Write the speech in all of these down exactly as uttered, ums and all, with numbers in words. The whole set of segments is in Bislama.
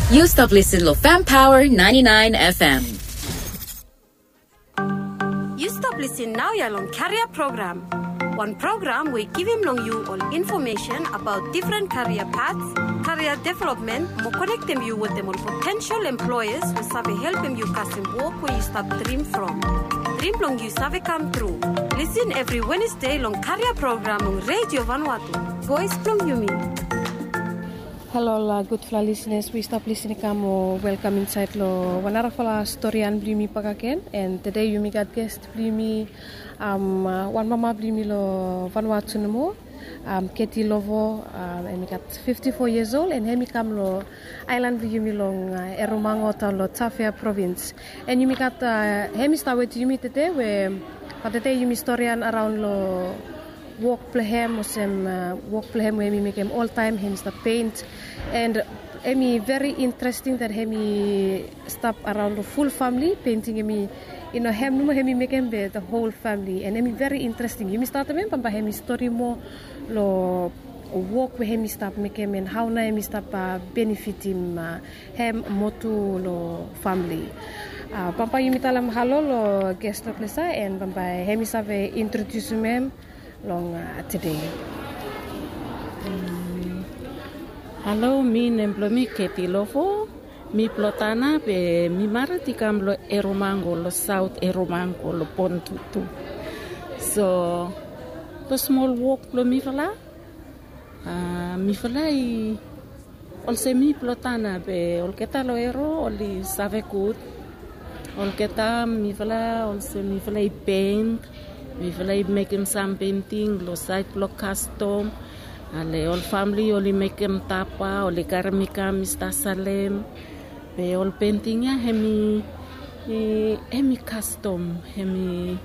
Yu stap lisin lo Fam Power ninety nine F M. Yu stap lisin naoia long Karia Program. Wan program we i givim long yu ol infomesen abaot difren karia paths, karia developmen, mo konektem yu wetem ol potensel employas we save helpem yu kasem wok we yu stap drim from. Drim blong yu save kam tru. Lisin evri Wenesde long Karia Program long Redio Vanuatu, voes blong yumi. Halo ol gudfala lisenas we i stap lisin i kam mo welkam insaed lo wan narafala storian blong yumi bakegen. And tede yumi gat ges blong yumi, wan mama blong yumi lo Vanuatu nomo, Keti Lovo. Hem i gat fifti fo yias ol, and hem i kam lo aelan blong yumi long Eromango, taon lo Tafea provins. And yumi gat, hem i stap wetem yumi tede we, ba tede yumi storian araon lo wok blong hem, olsem wok blong hem we hem i mekem oltaem, hem i stap pent. And hem i veri interesting that hem i stap araon lo ful famili, penting hem i, i no hem nomo hem i mekem, be the whole family. And hem i veri interesting. Yumi statem hem, bambae hem i stori moa lo wok we hem i stap mekem, and hao nao hem i stap benefitim hem mo tu lo famili. Bambae yumi talem halo lo ges lo ples ia, and bambae hem i save introdiusim hem long tede. Halo, mi nem blong mi Keti Lovo. Mi Plotana, be mi mared i kam lo Eromango, lo Saot Eromango, lo Pontutu. So, lo smol wok blong mifala, mifala i olsem mi Plotana, be olgeta lo Ero oli save gud. Olgeta mifala olsem mifala i pent, mifala i mekem sam penting lo saed blo kastom. Ale ol famili oli mekem tapa, oli karem i kam i stap salem. Be ol penting ia hem i, hem i kastom, hem i,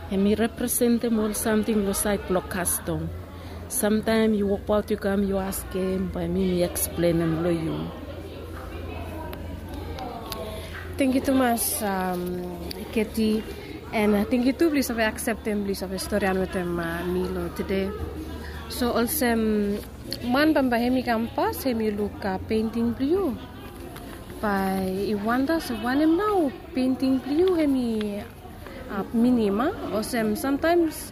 hem i representem ol samting lo saed blo kastom. Samtaem yu wokbaot yu kam yu askem, bae mi mi eksplenem lo yu. Tangkiu tumas, Keti, and tangkiu tu blo yu save akseptem blo yu save storian wetem mi lo tede. So olsem man bambae hem i kam pas, hem i luk penting blo yu, bae i wanda se wanem nao penting blo yu hem i minim, a? Olsem samtaems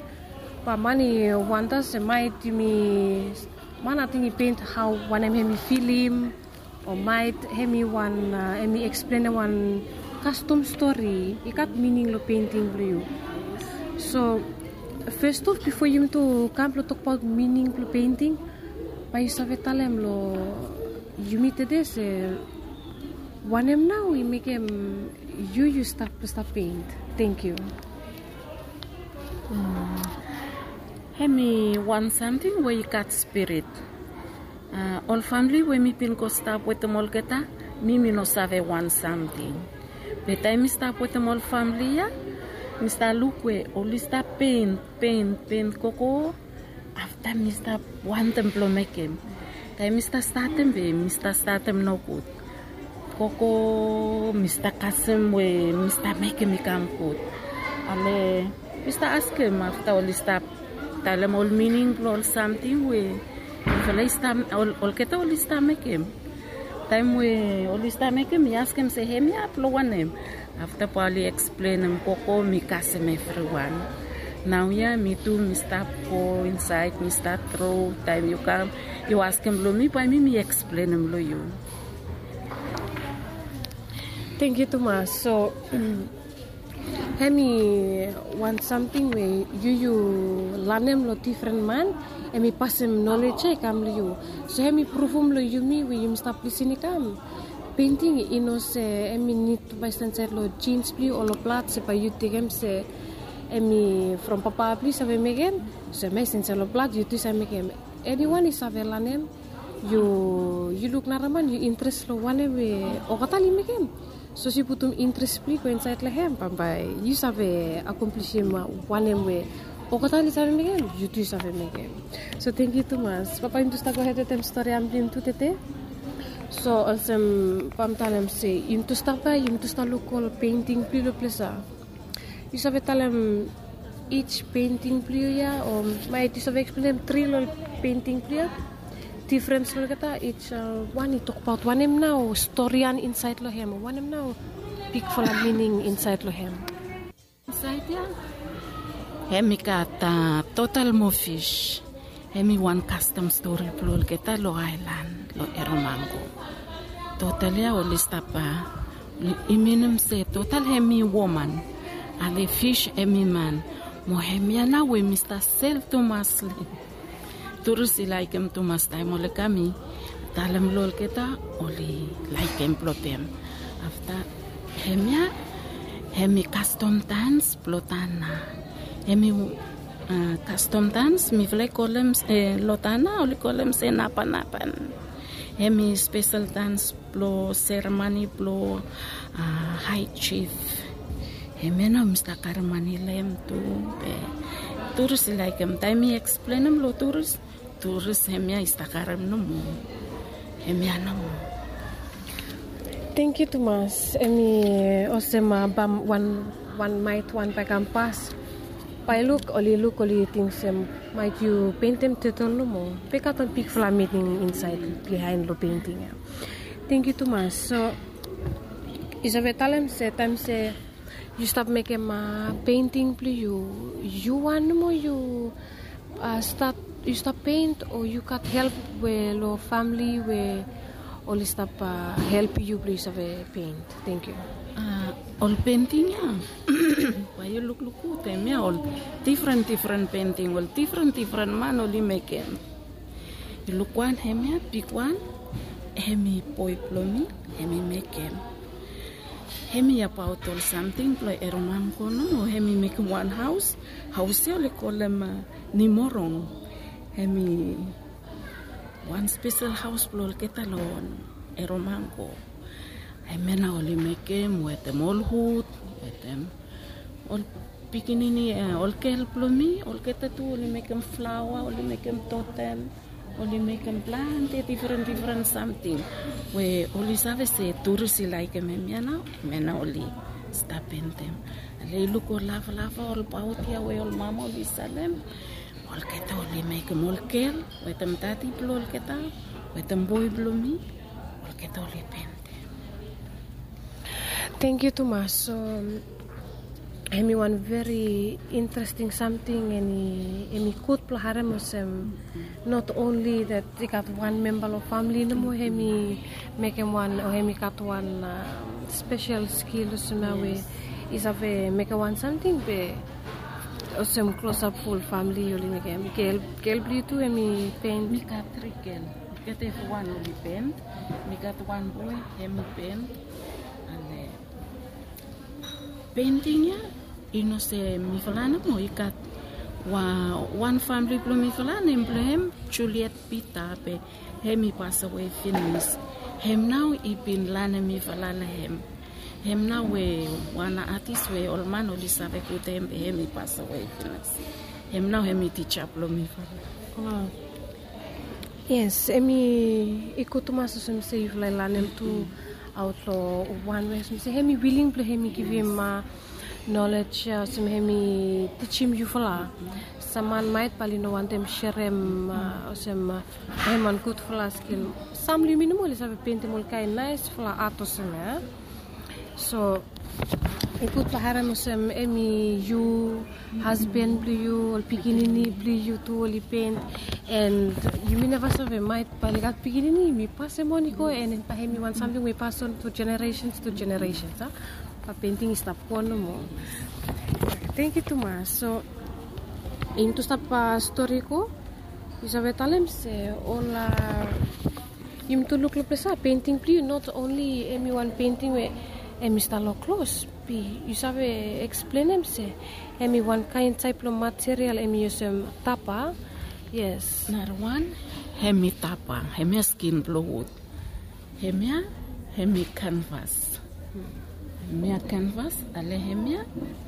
bae man i wanda se maet yumi, man ating i pent hao wanem hem i filim, o maet hem i wan, hem i eksplenem wan kastom stori, i gat mining lo penting blo yu. So fes of, bifo yumi tu kam blo tokbaot mining blo penting, bae yu save talem lo yumi tede se wanem nao i mekem yu yu stap, stap pent. Tangkiu. Hem i wan samting we i gat spirit. Ol famili we mi bin go stap wetem olgeta, mi mi no save wan samting. Be taem mi stap wetem ol famili ia, mi stap luk we oli stap pent, pent, pent gogo. Afta mi stap wantem blo mekem. Taem mi stap statem be mi stap statem nogud. Gogo mi stap kasem we mi stap mekem i kam gud. Ale mi stap askem afta oli stap talem ol mining blo ol samting we mifala i stap, olgeta oli stap mekem. Taem we oli stap mekem, mi askem se hemia blo wanem. Afta bae oli eksplenem gogo, mi kasem evriwan. Naoia mi tu mi stap go insaed, mi stap tro. Taem yu kam yu askem lo mi, bae mi mi eksplenem lo yu. Tangkiu tumas. So hem i wan samting we yu yu lanem lo difren man, hem i pasem nolej ia i kam lo yu. So hem i pruvum lo yumi we yumi stap lisin i kam, penting i no se hem i nid tu bae i stap insaed lo jins blo yu o lo blad se bae yu tekem se hem i from papa blo yu save mekem. So hem i stap insaed lo blad, yu tu save mekem. Eniwan i save lanem. Yu, yu luk naraman, yu interes lo wanem we olgeta oli mekem. Sapos yu putum interes blo yu go insaed lo hem, bambae yu save akomplisim wanem we olgeta oli save mekem, yu tu yu save mekem. So tangkiu tumas. Bambae yumi tu stap gohed wetem storian blo yumi tu tede. So olsem bae mi talem se yumi tu stap ia, yumi tu stap luk ol penting blo yu lo ples ia. Yu save talem ij penting blo yu ia, o maet yu save eksplenem tri lo ol penting blo yu ia? Difrens long olgeta, each wan i tokbaot wanem nao storian insaed long hem, wanem nao bigfala mining insaed long hem. Insaed ya hem i gat total mo fis. Hem i wan kastom stori blong olgeta long aelan long Eromango. Total ya oli stap, i minim se total hem i woman, ale fis hem i man. Mo hem ya nao we mi stap sel tumas long Turis i laekem tumas taem oli kam i talem long olgeta oli laekem blong hem. Afta hemia hemi kastom dans blong Tana. Hemi kastom dans mifala i kolem long Tana oli kolem se napanapan. Hemi spesel dans blong seremoni blong hae jif. Hemia nao mi stap karem mani long hem tu. Be turis i laekem taem mi eksplenem long turis, turis hemia i stap karem nomo. Hemia nomo. Tangkiu tumas. Hemi olsem bam wan maet wan bae kam pas, bae luk oli luk oli ting se maet yu pentem tetol nomo. Be i gat wan bigfala miting insaed bihaen long penting ya. Tangkiu tumas. So yu save talem se taem se yu stap mekem penting blong yu, yu wan nomo yu stat yu stap pent o yu gat help we long famili we oli stap helpem yu blong yu save pent? Tangkiu. Ol penting ya bae yu lukluk gud hemia ol difren difren penting ol difren difren man oli mekem. Yu luk wan hemia bigwan, hemi boe blong mi, hemi mekem. Hemi abaot ol samting blong Eromango nomo, hemi mekem wan haos. Haos ya oli kolem Nimorong. Hemi wan spesel haos blong olgeta long Eromango. Hemia nao oli mekem wetem ol wud, wetem ol pikinini, ol gel blong mi, olgeta tu oli mekem flaoa, oli mekem totem, oli mekem plante difren difren samting we oli save se turis i laekem hemia nao, hemia nao oli stap pentem. Ale yu luk ol lavalava, ol baot ya we ol mama oli salem, olgeta oli mekem, ol gel wetem dadi blong olgeta wetem boe blong mi, olgeta oli pentem. Tangkiu tumas. So hemi wan veri interesting samting, and hemi gud blong harem olsem not only that i gat wan memba long famili nomo hemi mekem wan o hemi gat wan spesel skil olsem ya we i save mekem wan samting be olsem klosap ful famili oli mekem. Gel blong yu tu hemi pent? Mi gat tri gel. Olgeta evriwan oli pent. Mi gat wan boe, hemi pent. Ale penting ya i no se mifala nomo, i gat wan famili blong mifala nem blong hem Juliet Peter, be hemi pasawe finis. Hem nao i bin lanem mifala long hem. Hem nao we wan atis we ol man oli save gud hem, be hemi pasawe finis. Hem nao hemi tija blong mifala. Yes, hemi i gud tumas olsem se yufala i lanem tu aot long wan we olsem se hemi wiling blong hemi givim nolej ya olsem hemi tijim yufala. Sam man maet bae oli no wantem serem olsem hem wan gudfala skil. Sam long yumi nomo oli save pentem ol kaen naesfala at olsem ya. So i gud blong harem olsem hemi yu, hasban blong yu, ol pikinini blong yu tu oli pent. And yumi neva save maet bae oli gat pikinini yumi pasem on i go, and bae hemi wan samting we i pas on tu generesens tu generesens a. Bae penting i stap go nomo. Tangkiu tumas. So yumi tu stap stori go. Yu save talem se ol yumi tu luk long ples ya penting blong yu not onli hemi wan penting we hemi stap long klos, be yu save eksplenem se hemi wan kaen taep blong material hemi olsem tapa. Yes. Narawan hemi tapa, hemia skin blong wud. Hemia hemi kanvas. Hemia kanvas. Ale hemia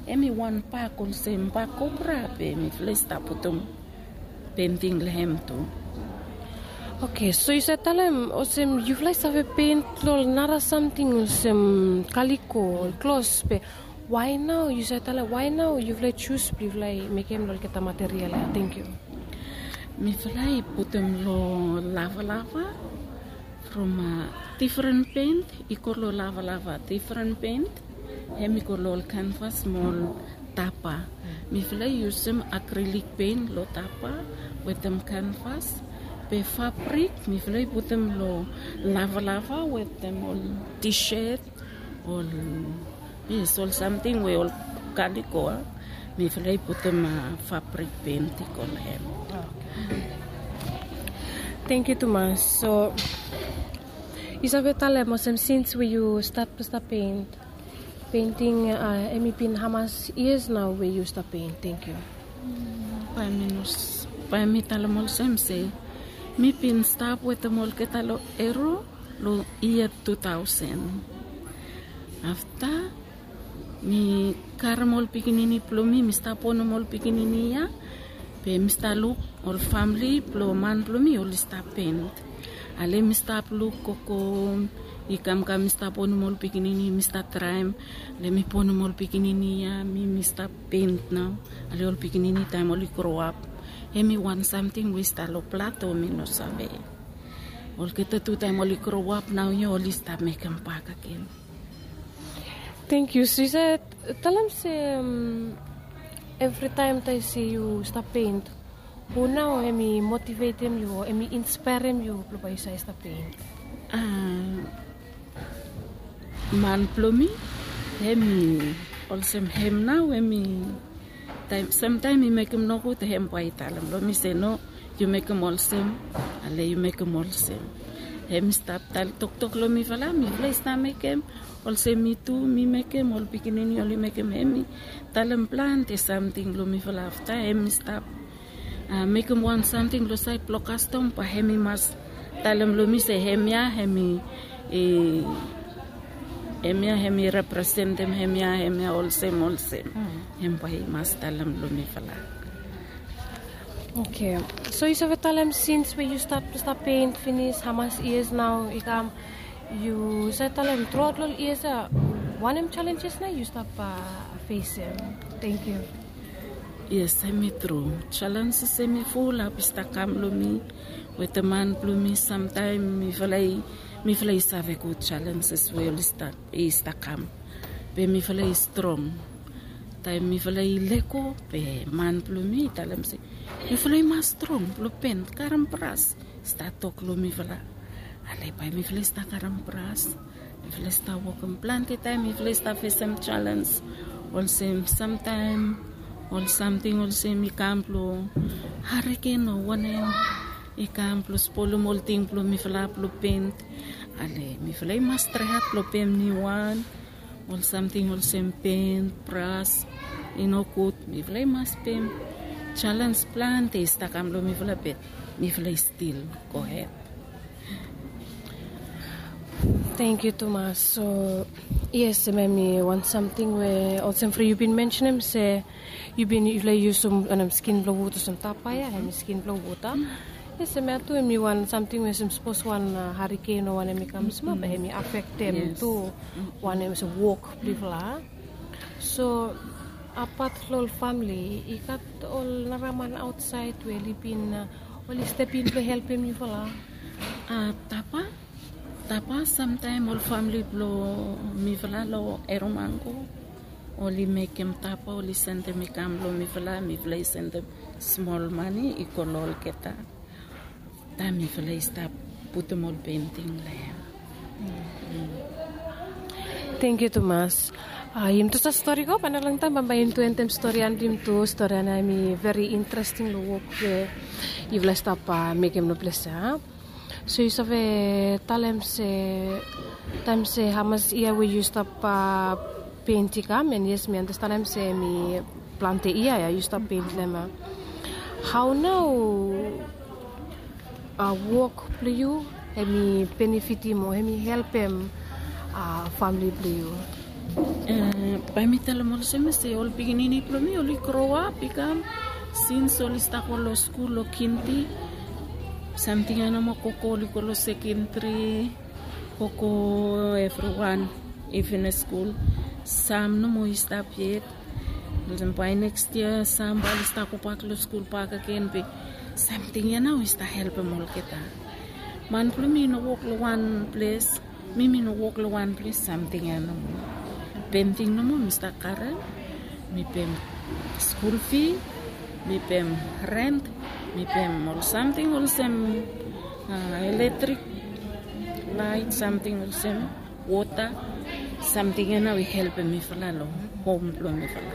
hemi wan bak olsem bak kopra be mifala i stap putum penting long hem tu. Oke, so yu save talem olsem yufala i save pent long nara samting olsem kaliko, klos, be wae nao yu save talem wae nao yufala i jus blong yufala i mekem long olgeta material ya? Tangkiu. Mifala i putum long lavalava from difren pent i go long lavalava, difren pent hem i go long ol kanvas mo ol tapa. Mifala i yusum akrilik pent long tapa wetem kanvas. Be fabrik mifala i putum long lavalava wetem ol tishet, ol, yes, ol samting we ol kaliko, mifala i putum fabrik pent i go long hem. Thank you tumas. So yu save talem olsem sins we yu stat stap pent, penting, em i bin hamas years nau we yu stap pent? Thank you. Bae mi talem olsem se mi bin stap wetem olgeta long ero long yia two thousand. Afta mi karem ol pikinini blong mi, mi stap bonem ol pikinini ya. Be mi stap luk ol famili blong man blong mi oli stap pent. Ale mi stap luk gogo i kamkam, mi stap bonem ol pikinini, mi stap traem. Ale mi bonem ol pikinini ya, mi mi stap pent nau. Ale ol pikinini taem oli groap, hem i wan samting we i stap long blad o mi no save. Olgeta tu taem oli groap nau ya oli stap mekem bakegen. Thank you. So yu save talem se evritaem taem se yu stap pent, hu nau hem i motivetem yu o hem i inspaerem yu blong bae yu save stap pent? Man blong mi, hem i olsem hem nau hem i taem samtaem mi mekem nogud hem bae i talem long mi se no, yu mekem olsem, ale yu mekem olsem. Hem i stap talem toktok long mifala, mifala i stap mekem olsem, mi tu mi mekem, ol pikinini oli mekem, hem i talem plante samting long mifala. Afta hem i stap mekem wan samting long saed blong kastom, bae hem i mas talem long mi se hemia hem i, hemia hem i representem hemia, hemia olsem olsem. Hem bae i mas talem long mifala. Oke. So yu save talem sins we yu stat stap pent finis, hamas yias nao i kam, yu save talem truaot long ol yias ya, wanem jalenjes nao yu stap fesem? Tangkiu. Yes, hem i tru. Jalenjes hem i fulap i stap kam long mi wetem man blong mi. Samtaem mifala i, mifala i save gud jalenjes we oli stap, i stap kam. Be mifala i strong. Taem mifala i lego, be man blong mi i talem se, yufala i mas strong blong pent, karem bras, i stap tok long mifala. Ale bae mifala i stap karem bras, mifala i stap wokem. Plante taem mifala i stap fesem jalenjes, olsem samtaem ol samting olsem i kam blong hariken o wanem, i kam blong spolem ol ting blong mifala blong pent. Ale mifala i mas traehat blong pem niuwan. Ol samting olsem pent, bras, i no gud, mifala i mas pem. Jalenjes plante i stap kam long mifala, be mifala i stil gohed. Tangkiu tumas. So yes, hemia hemi wan samting we olsem Fri yu bin mensenem se yu bin, yufala i yusum wanem, skin blong wut olsem tapa ya, hemi skin blong wut a. Yes, hemia tu hemi wan samting we olsem sapos wan hariken o wanem i kam smol, be hemi afektem tu wanem, olsem wok blong yufala. So apat long ol famili, i gat ol nara man aotsaed we oli bin, oli step in blong helpem yufala? Tapa, tapa, samtaem ol famili blong mifala long Eromango oli mekem tapa, oli sendem i kam long mifala, mifala i sendem smol mane i go long olgeta. Taem mifala i stap putum ol penting long hem. Tangkiu tumas. Yumi tu save stori go, bae long taem bae yumi tu endem stori ya, yumi tu stori ya, hemi veri interesting long wok we yufala i stap mekem long ples ya. So yu save talem se taem se hamas yia we yu stap pent i kam, and yes, mi andastanem se hemi plante yia ya yu stap pent long hem. Hao nao wok blong yu hemi benefitim o hemi helpem famili blong yu? Bae mi talem olsem se ol pikinini blong mi oli groap i kam, sins oli stap go long skul long kindi. Samting ya nomo, gogo oli go long sekendri, gogo evriwan i finis skul. Sam nomo i stap yet. Olsem bae neks yia sam bae oli stap gobak long skul bakegen, be Samting ya nao i stap helpem olgeta. Man blong mi i no wok long wan ples, mi mi no wok long wan ples, samting ya nomo. Penting nomo mi stap karem. Mi pem skul fi, mi pem rent, mi pem ol samting olsem, a, eletrik, lait, samting olsem, wota. Samting ya nao i helpem mifala long hom blong mifala.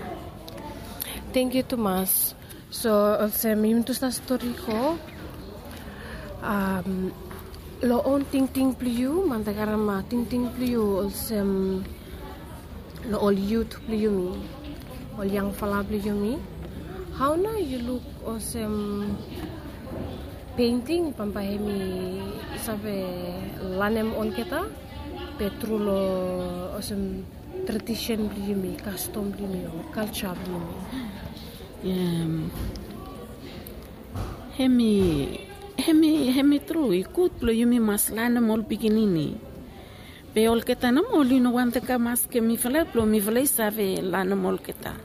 Tangkiu tumas. So olsem yumi tu stap stori go, long on tingting blong yu man ta karem tingting blong yu olsem, long ol yut blong yumi, ol yangfala blong yumi, hao nao yu luk olsem, penting bambae hem i save lanem olgeta, be tru long olsem, tradisen blong yumi, kastom blong yumi, o kalja blong yumi? Hem i hem i hem i tru i gud blong yumi mas lanem ol pikinini. Be olgeta nomo oli no wantem kam askem mifala blong mifala i save lanem olgeta.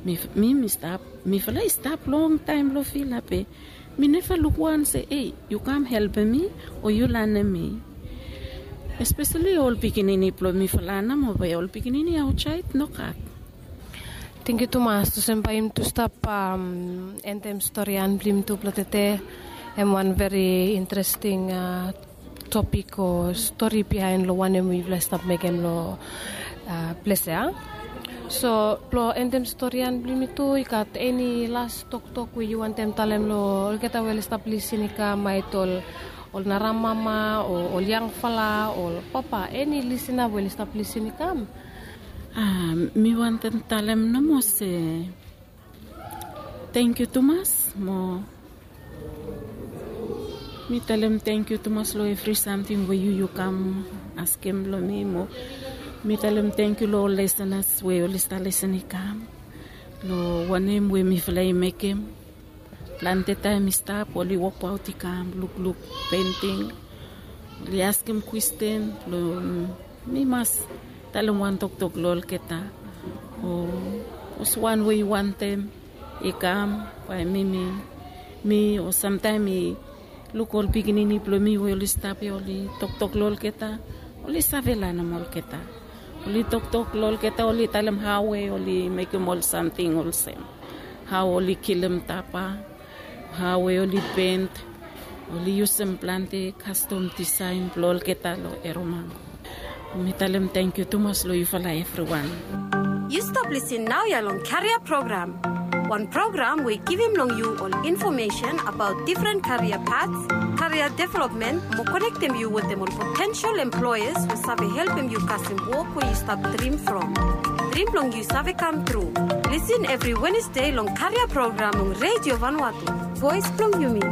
Mi mi mi stap, mifala i stap longtaem long vila be mi neva luk wan se ei, yu kam helpem mi, o yu lanem mi. Espeseli ol pikinini blong mifala nomo be ol pikinini aotsaed nogat. Tangkiu tumas olsem bae yumi tu stap endem storian blong yumi tu blong tede. Hem wan veri interesting topik o stori biaen long wanem we yufala i stap mekem long ples ya. So blong endem storian blong yumi tu i gat eni las toktok we yu wantem talem long olgeta we oli stap lisin i kam, maet ol ol naramama o ol yangfala o ol papa, eni lisina we oli stap lisin i kam? Mi wantem talem nomo se tangkiu tumas mo mi talem tangkiu tumas long evri samting we yu yu kam askem long mi mo mi talem tangkiu long ol lesenas we oli stap lesen i kam long wanem we mifala i mekem. Plante taem i stap oli wokbaot i kam lukluk penting, oli askem kwesten long mi mas talem wan toktok long olgeta o olsem wan we i wantem i kam bae mi mi mi o samtaem i luk ol pikinini blong mi we oli stap ya oli toktok long olgeta, oli save lanem olgeta. Oli toktok long olgeta, oli talem hao we oli mekem ol samting olsem hao oli kilim tapa, hao we oli pent, oli yusum plante kastom disaen blong olgeta long Erromango. Mi talem tangkiu tumas long yufala evriwan. Yu stap lisin naoia long Karia Program, wan program we i givim long yu ol infomesen abaot difren karia pats, karia developmen mo konektem yu wetem ol potensel employas we save helpem yu kasem wok we yu stap drim from. Drim blong yu save kam tru. Lisin evri Wenesde long Karia Program long Redio Vanuatu, voes blong yumi.